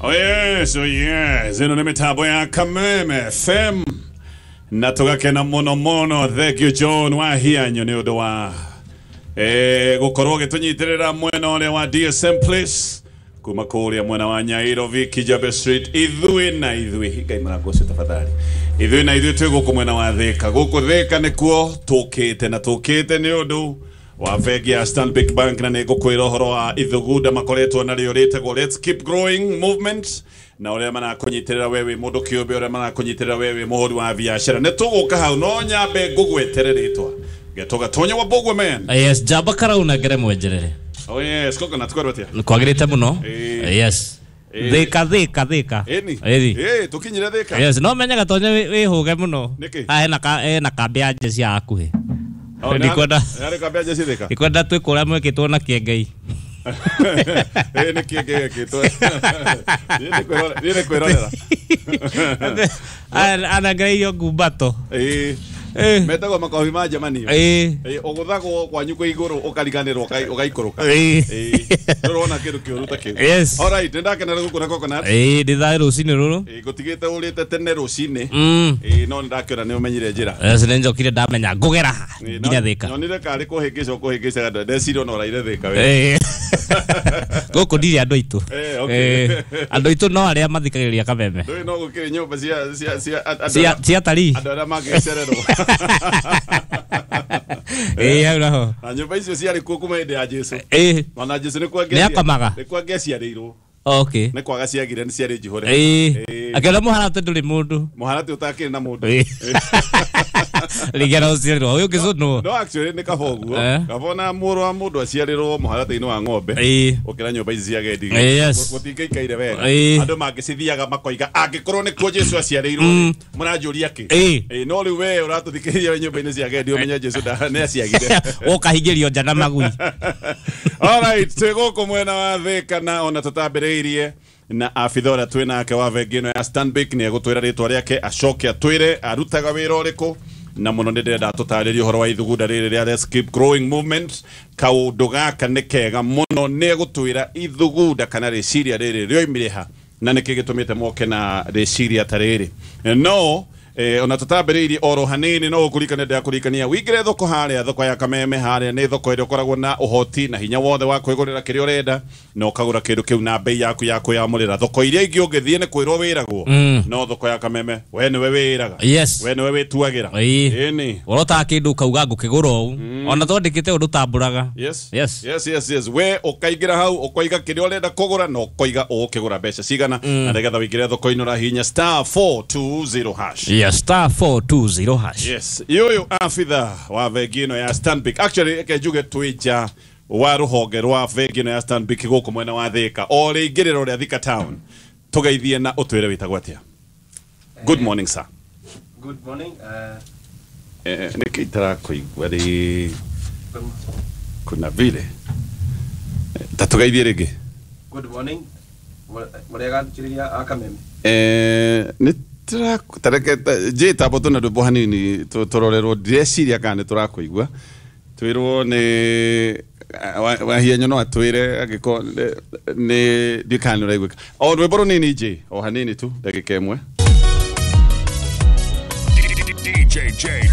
Oh yes, ĩno nĩ mĩtambo ya Kameme FM na tũgakena mũno mũno. Thank you John Wahianyo nĩ ũndũ wa gũkorwo ũgĩtũnyitĩrĩra mwena ũrĩa wa DSM Place kuma kũrĩa mwena wa Nyairobi Kijabe Street. Ithuĩ na ithuĩ, Ngai mũrango ũcio tafadhali, ithuĩ na ithuĩ twĩ gũkũ mwena wa Thika. Gũkũ Thika nĩkuo tũkĩte na tũkĩte nĩ ũndũ wa bengi ya Stanbic Bank, na nĩ ngũkwĩra ũhoro wa ithugunda makoretwo narĩo rĩtagwo Let's Keep Growing Movement, na ũrĩa marakũnyitĩrĩra we wĩ mũndũ kĩũmbe, ũrĩa marakũnyitĩrĩra we wĩ mũhũri wa biacara. Nĩ tũgũka hau, no nyambe ngũgwetere rĩtwa Getwo Gatonya wa Bogwe man. Yes, njamba karauna ngere mwenjerere. Oh yes, Coconut, kwĩrwo atĩa? Kwagĩrĩte mũno. Yes. Thika thika thika. Ĩni. Ĩni. Tũkinyire Thika. Yes, no menye Gatonya wĩhũge mũno. Nĩkĩ? Haha hena ka hena kambĩ ya jeshi ya hakuhĩ. Oh, Ndikwenda nĩ kambĩ ya jeshi Thika. Ndikwenda twĩ kũrĩa mwĩkĩtwo na kĩengei. Nĩ kĩengei gĩkĩtwo. Niĩ nĩ kwĩrorera. Anangereirio ngumbato. Metagwo makobi ma njemanio. Ũgũthagwo kwanyu kwĩ igũrũ ũkariganĩrwo ũgaikũrũka. Ndũrona kĩndũ kĩũru ta kĩu. Yes. Alright, nĩndakenera gũkuona Coconut. Ndĩ thayũ rũcinĩ rũrũ. Ngũtigĩte ũrĩte tene rũcinĩ. No nĩndakĩona nĩ ũmenyire njĩra. Yes, nĩnjokire ndamenya ngũgera ha nginya Thika. Nyonire karĩ kũhĩngĩca ũkũhĩngĩcaga ndeciria ona ũraire Thika we. Gũkũ ndirĩ andũ aitũ. Andũ aitũ no arĩa mathikagĩrĩria Kameme. Ndũĩ no gũkĩrĩ nyũmba cia cia cia atarii. Andũ arĩa mangĩcererwo. Hau naho. Na nyũmba icio ciarĩ kuo kuma hĩndĩ ya Jesu. Ona Jesu nĩ Nĩ akomaga? Nĩ kwangĩaciarĩirwo. Okay. Nĩ kwaga ciagire nĩ ciarĩ njihũre. Akĩona mũharatĩ ndũrĩ mũndũ. Mũharatĩ ũtakĩrĩ na mũndũ. Rĩngĩ arociarĩrwo ũyũ ũngĩ No actually nĩ kaba ũguo. Kaba ona mũrũ wa mũndũ aciarĩrwo mũharatĩ-inĩ wa ng'ombe. Ũkĩra nyũmba ici cia agendi. Gũtingĩikaire wega. Andũ mangĩcithiaga makoiga angĩkorwo nĩkuo Jesu aciarĩirwo mũranjũria kĩ? No rĩu we ũratũthikĩrĩria wĩ nyũmba-inĩ cia agendi ũmenye Jesu nĩ aciagire. Ũkahingĩrio nja na magui. Alright, twĩ gũkũ mwena wa Thika na ona tũtambĩrĩirie na abitha ũrĩa twĩ nake wa bengi ĩno ya Stanbic nĩ egũtwĩra rĩtwa rĩake acoke atwĩre arutaga wĩra ũrĩkũ, na mũno nĩ ndĩrenda tũtarĩrie ũhoro wa ithugunda rĩrĩ rĩa Let's Keep Growing Movement. Kaũndũ gaka nĩ kega mũno, nĩ egũtwĩra ithugunda kana rĩciria rĩrĩ rĩoimire ha na nĩkĩ gĩtũmĩte moke na rĩciria ta rĩrĩ. No ona tũtambĩrĩirie oro hanini no ũkũririkane ndĩrakũririkania wĩingĩre thoko harĩa, thoko ya Kameme harĩa nĩ thoko ĩrĩa ũkoragwo na ũhoti na hinya wothe wa kwĩgũrĩra kĩrĩa ũrenda na ũkagũra kĩndũ kĩu na bei yaku ya kwĩyamũrĩra. Thoko iria ingĩ ũngĩthiĩ nĩ kwĩrwo wĩragwo, no thoko ya Kameme we nĩwe wĩraga. Yes. We nĩwe wĩtuagĩra. Ĩni. Ũrotaga kĩndũ ũkauga ngũkĩgũra ũũ. Ona twandĩkĩte ũndũ ũtambũraga. Yes. Yes. Yes, yes, yes. We ũkaingĩra hau ũkoiga kĩrĩa ũrenda kũgũra na ũkoiga ũgũkĩgũra mbeca cigana, na nĩgetha wĩingĩre thoko-inĩ ũrahihinya *420#. Yes, *420#. Yes. Yoyo afitha wa bengi ĩno ya Stanbic. Actually reke njuge twĩ nja wa rũhonge rwa bengi ĩno ya Stanbic gũkũ mwena wa Thika. O rĩingĩrĩro rĩa Thika town. Tũgeithie na ũtwĩre wĩtagwo atĩa. Good morning sir. Good morning. Nĩkĩ itarakũigua rĩ kuna vile. Ta tũgeithie rĩngĩ. Good morning. Mũrĩega thikĩrĩria a Kameme. Nĩ tareke njĩtambwo tũna rwĩmbo hanini tũrorerwo ndireciria kana nĩ tũrakũigua. Twĩrwo nĩ Wahianyo no atwĩre angĩkorwo nĩ ndiũĩ kana nĩ ũraiguĩka. O rwĩmbo rũnini njĩ o hanini tu ndagĩka ĩmwe. DJ J.